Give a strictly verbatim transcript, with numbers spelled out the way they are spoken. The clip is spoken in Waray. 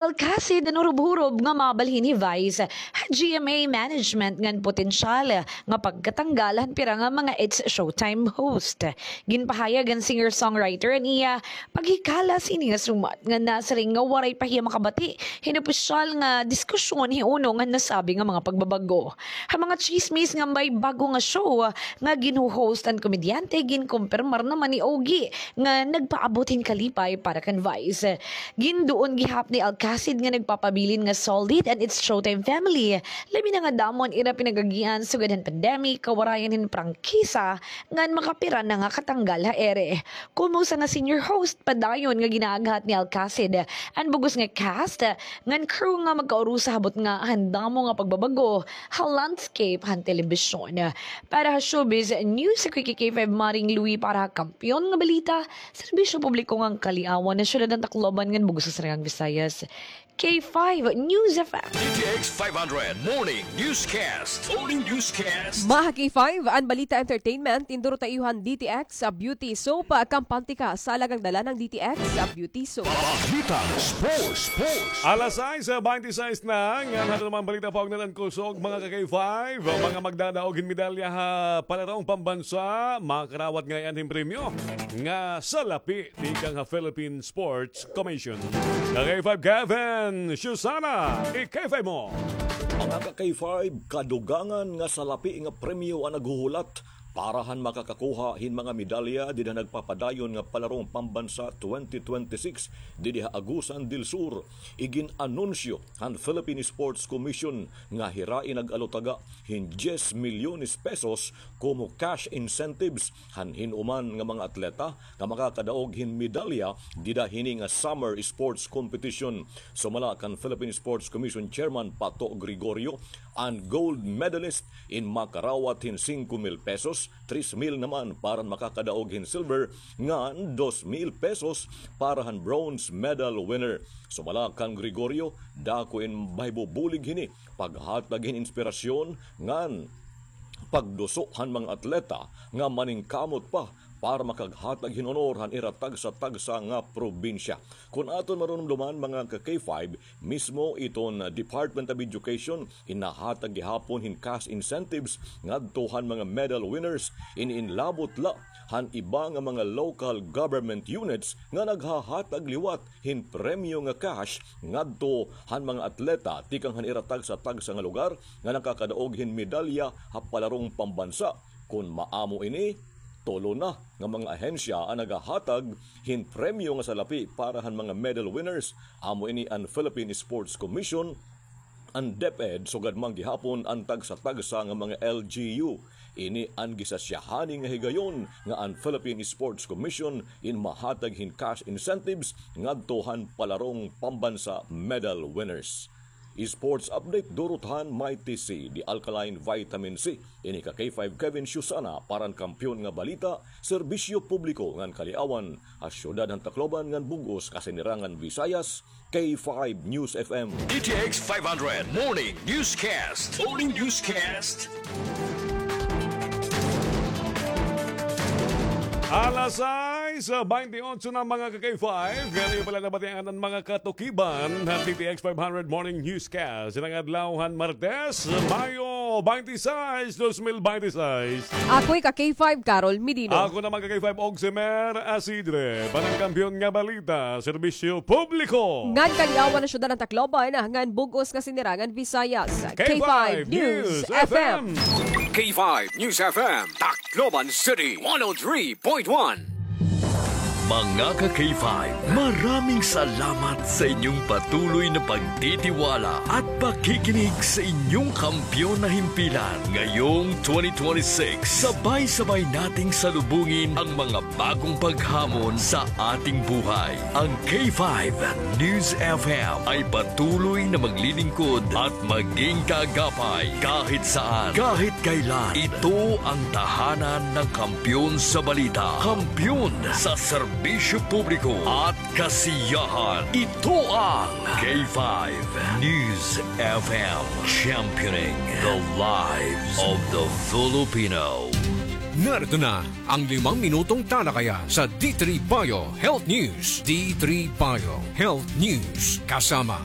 Alcacid an hurob-hurob nga mabalhin hi Vice ha G M A management ngan potensyal nga pagkatanggal han pira nga mga It's Showtime host. Ginpahayag han singer-songwriter an iya paghikala sini nga sumat nga nasiring nga waray pa hiya makabati hin opisyal nga diskusyon hiuno ngan nasabi nga mga pagbabag-o. Ha mga tsismis ngan may bag-o nga show nga ginho-host an komedyante, ginkumpirmar naman ni Ogie nga nagpaabot hin kalipay para kan Vice. Ginduon gihap ni Alcacid nga nagpapabilin nga solid an It's Showtime family, labi na nga damo an ira pinag-agian sugad han pandemic, kawarayan hin prangkisa, ngan makapira na nga katanggal ha ere. Komo usa nga senior host, padayon nga ginaaghat ni Alcacid an bug-os nga cast ngan crew nga magkaurusa ha butnga han damo nga pagbabag-o ha landscape han telebisyon. Para ha Showbiz News, ako hi K five Maring Louie para ha Kampiyon nga Balita, Serbisyo Publiko ngan Kaliawan, ha Syudad han Tacloban ngan bug-os nga Sinirangan Visayas, K five News F M. D T X five hundred Morning Newscast. Morning Newscast. Mga K five, an balita entertainment, tinduro ta iyo han D T X sa Beauty Soap, kampante ka sa alagang dala ng D T X sa Beauty Soap. Balitang sports, sports. Alas sais, ah, baynte sais na, ngan aton naman balita paugnayan kusog, mga ka-K five, mga magdadaog hin medalya ha palarong pambansa, makarawat ngay-an hin premyo nga salapi tikang ha Philippine Sports Commission. Ka-K five Kevin Susana, i-K five mo. Mga ka-K five, kadugangan nga salapi nga premyo an naghuhulat para han makakakuha hin mga medalya dida nagpapadayon nga Palarong Pambansa twenty twenty-six didi ha Agusan del Sur. Igin-anunsyo han Philippine Sports Commission nga hira in nag-alutaga hin diyes milyones pesos komo cash incentives han hin-o man nga mga atleta nga makakadaog hin medalya dida hini nga summer sports competition. Sumala kan Philippine Sports Commission Chairman Pato Gregorio, an gold medalist in makarawat hin singko mil pesos, tres mil naman para han makakadaog hin silver, ngan dos mil pesos para han bronze medal winner. Sumala kan Gregorio, dako in mahibubulig hini paghatag hin inspirasyon ngan pagduso han mga atleta nga maningkamot pa para makaghatag hin honor han ira tagsa-tagsa nga probinsya. Kon aton marumduman, mga ka-K five, mismo iton Department of Education in nahatag gihapon hin cash incentives ngadto han mga medal winners, in inlabot la han iba nga mga local government units nga naghahatag liwat hin premyo nga cash ngadto han mga atleta tikang han ira tagsa-tagsa nga lugar nga nakakadaog hin medalya ha palarong pambansa. Kon maamo ini, tulo na nga mga ahensya an nagahatag hin premyo nga salapi para han mga medal winners. Amo ini an Philippine Sports Commission, an DepEd, sugad man gihapon an tagsa-tagsa nga mga L G U. Ini an gisasyahan nga higayon nga an Philippine Sports Commission in mahatag hin cash incentives ngadto han palarong pambansa medal winners. Sports update, durot han Mighty C, the alkaline vitamin C. Ini ka K five Kevin Susana para han Kampiyon nga Balita, Serbisyo Publiko ngan Kaliawan, ha Syudad han Tacloban ngan bug-os Kasinirangan Visayas, K five News F M. D T X five hundred Morning Newscast. Morning Newscast. Alas sais, baynte otso na, mga ka-K five. Ngani pala nabatian an mga katukiban han D T X five hundred Morning Newscast. Ining adlaw han Martes, Mayo baynte sais, dos mil baynte sais. Ako hi ka-K five, Carol Medino. Ako naman ka-K five, Oximer Asidre. Para han Kampiyon nga Balita, Serbisyo Publiko ngan Kaliawan, ha Syudad han Tacloban ngan bug-os Kasinirangan Visayas, K five News F M. K five News F M, Tacloban City, one oh three point one. Mga ka-K five, maraming salamat sa inyong patuloy na pagtitiwala at pakikinig sa inyong kampiyon na himpilan. Ngayong twenty twenty-six, sabay-sabay nating salubungin ang mga bagong paghamon sa ating buhay. Ang K five News F M ay patuloy na maglilingkod at maging kaagapay kahit saan, kahit kailan. Ito ang tahanan ng kampiyon sa balita, kampiyon sa serbisyo publiko at kasiyahan. Ito ang K five News F M, championing the lives of the Filipino. Narito na ang limang minutong talakayan sa D three Bio Health News. D three Bio Health News. Kasama